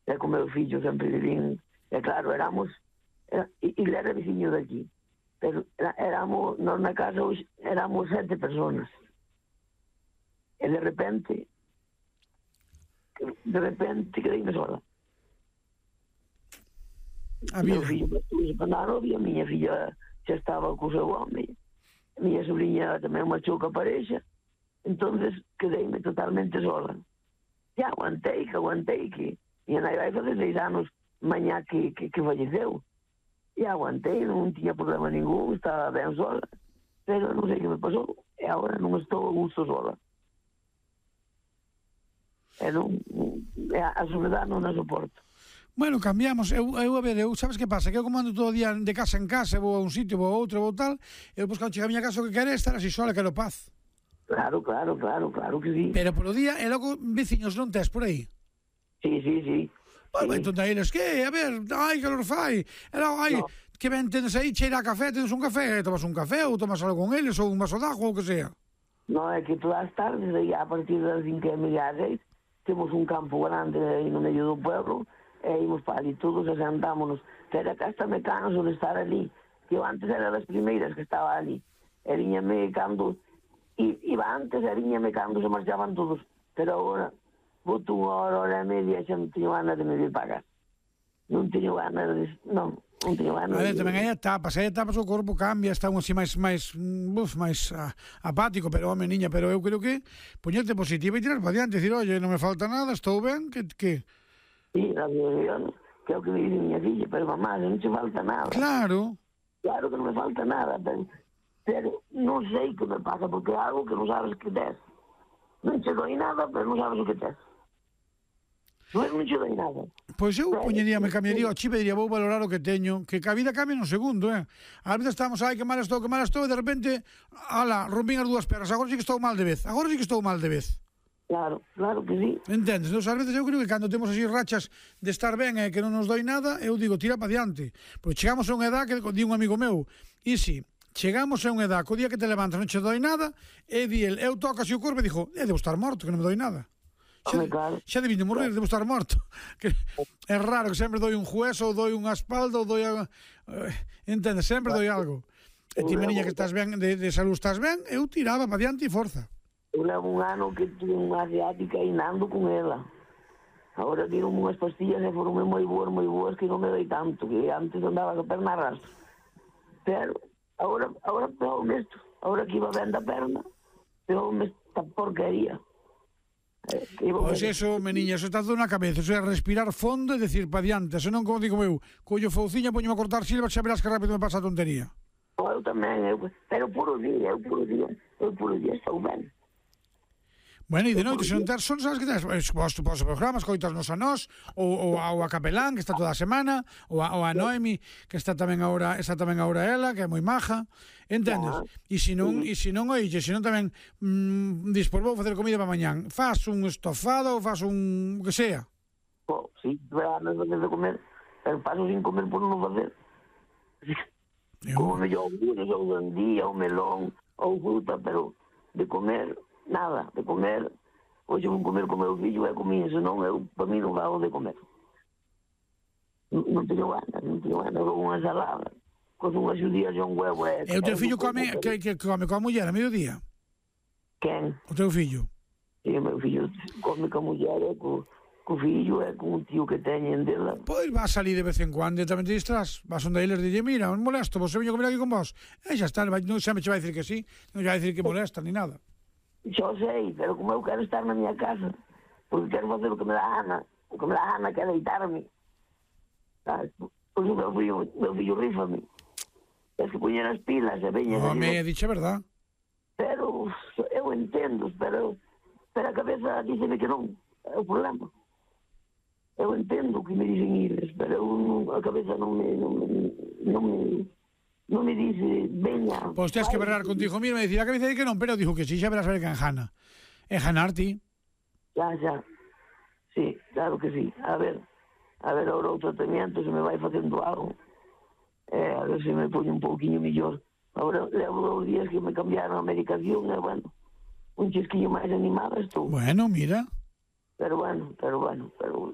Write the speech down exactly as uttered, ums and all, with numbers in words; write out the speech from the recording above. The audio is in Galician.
e co meu fillo sempre vivín, e claro, éramos, era, e ele era veciño de aquí, pero era, éramos, nós na casa hoxe, éramos sete personas, e de repente, de repente, quedeime sola. A Meu vida. fillo estuve para a novia, a miña filla xa estaba co seu home, a miña sobrinha tamén marchou ca parexa, entonces quedeime totalmente sola. E aguantei, que aguantei, que minha nai vai fazer seis anos mañá que, que, que falleceu. E aguantei, non tiña problema ningún, estaba ben sola, pero non sei que me pasou, e agora non estou a gusto sola. E non, a soledad non a soporto. Bueno, cambiamos, eu, eu a ver, eu sabes que pasa, que eu como ando todo o día de casa en casa, vou a un sitio, vou a outro, vou tal, eu depois cando chega a miña casa o que quero é estar así sola, quero paz. Claro, claro, claro, claro que sí. Pero polo día, e logo veciños non tes por aí? Sí, sí, sí. Bueno, sí. entón eles, que, a ver, ai, calor fai, e logo, ai, No. que ben tenes aí, cheira a café, tenes un café, tomas un café, ou tomas algo con eles, ou un vaso de agua, ou que sea. No, é que todas as tardes, aí a partir das cinco e media às seis, temos un campo grande aí no medio do pueblo, e ímos para ali todos e sentámonos. Pero acá hasta me canso de estar ali, que eu antes era das primeiras que estaba ali. E viñame cando, i, iba antes e viñame cando se marchaban todos. Pero agora, boto unha hora, hora e media, xa non teño ganas de me vir para casa. Non teño ganas de... Non, non teño ganas A ver, de... tamén hai etapas, hai etapas o corpo cambia, está un así máis máis uf, máis ah, apático, pero home, niña, pero eu creo que poñerte positiva e tirar para diante, decir, oye, non me falta nada, estou ben, que que Sí, gracias a Dios, que é o que me dice miña filla, pero mamá, non te falta nada. Claro. Claro que non me falta nada, pero, pero non sei que me pasa, porque é algo que non sabes que tes. Non che doi nada, pero non sabes o que tes. Non, non che doi nada. Pois eu Pero, poñería, me cambiaría o sí. chip e diría, vou valorar o que teño, que a vida cambia nun segundo, eh. Ás veces estamos, ai, que mal estou, que mal estou, e de repente, ala, rompín as dúas pernas, agora sí que estou mal de vez, agora sí que estou mal de vez. Claro, claro que sí. Entendes? Entón, ás veces eu creo que cando temos así rachas de estar ben e que non nos doi nada, eu digo, tira para diante. Porque chegamos a unha edad que di un amigo meu, e si, chegamos a unha edad que o día que te levantas non che doi nada, e di el, eu toco así o corpo e dixo, eh, debo estar morto, que non me doi nada. Xa, Home, claro. xa debí de morrer, debo estar morto. Que é raro que sempre doi un hueso, ou doi unha espalda, ou doi a... Entendes? Sempre doi algo. E ti, meniña, que estás ben, de, de salud estás ben, eu tiraba para diante e forza. Eu levo un ano que tuve unha asiática e nando con ela. Agora dieron unhas pastillas e foron moi boas, moi boas, que non me doi tanto, que antes andaba a perna arrastra. Pero, agora, agora pegou isto. Agora que iba ben da perna, pegou esta porquería. Pois eso, meniña, eso está todo na cabeza, eso é respirar fondo e decir para diante, senón, como digo eu, collo fouciña, poño a cortar silvas, xa verás que rápido me pasa a tontería. Eu tamén, eu, pero puro día, eu puro día, eu puro día estou ben. Bueno, e de noite, se non ter son, sabes que tens? Vos os programas, coitasnos a nós, ou, ou, ou a Capelán, que está toda a semana, ou a, ou a Noemi, que está tamén agora, está tamén agora ela, que é moi maja, entendes? E se non, e se non, oixe, se non tamén mmm, dis, por vou facer comida para mañán, faz un estofado ou faz un, que sea. Oh, sí, ganas de comer, pero paso sin comer por non facer. Como me iogures, ou sandía, ou melón, ou fruta, pero de comer... Nada, de comer, hoxe vou comer con meu fillo e comín, senón eu, para mí, non vago de comer. Non, non teño ganas, non teño ganas, ou unha ensalada, con unhas judías e un huevo. E, e o teu fillo come, que, que come coa muller a mediodía? Quen? O teu fillo? E o meu fillo come coa muller e co, co fillo e con un tío que teñen dela. Pois vas salir de vez en cuando e tamén te distrás, vas onde eles dille, mira, non molesto, vos veño comer aquí con vos. E xa está, non sempre che vai dicir que sí, non che vai dicir que molesta, ni nada. Xo sei, pero como eu quero estar na miña casa, porque quero facer o que me dá gana, o que me dá gana que é deitarme. Sabes? Pois o meu fillo, meu fillo rífame. Es que poñer as pilas e veña... Home, dixe verdad. Pero eu entendo, pero, pero a cabeza díceme que non, é o problema. Eu entendo que me dicen iles, pero eu, a cabeza non me... non me, non me non me dice, veña... Pois tens que berrar contigo mismo e dicir, a cabeza di que non, pero dijo que sí, xa verás a ver que enjana. Enjanar ti. Xa, xa. Sí, claro que sí. A ver, a ver ahora o tratamento, se me vai facendo algo. Eh, a ver se me pone un pouquinho mellor. Agora levo dos días que me cambiaron a medicación e, bueno, un chisquillo máis animada estou. Bueno, mira. Pero bueno, pero bueno, pero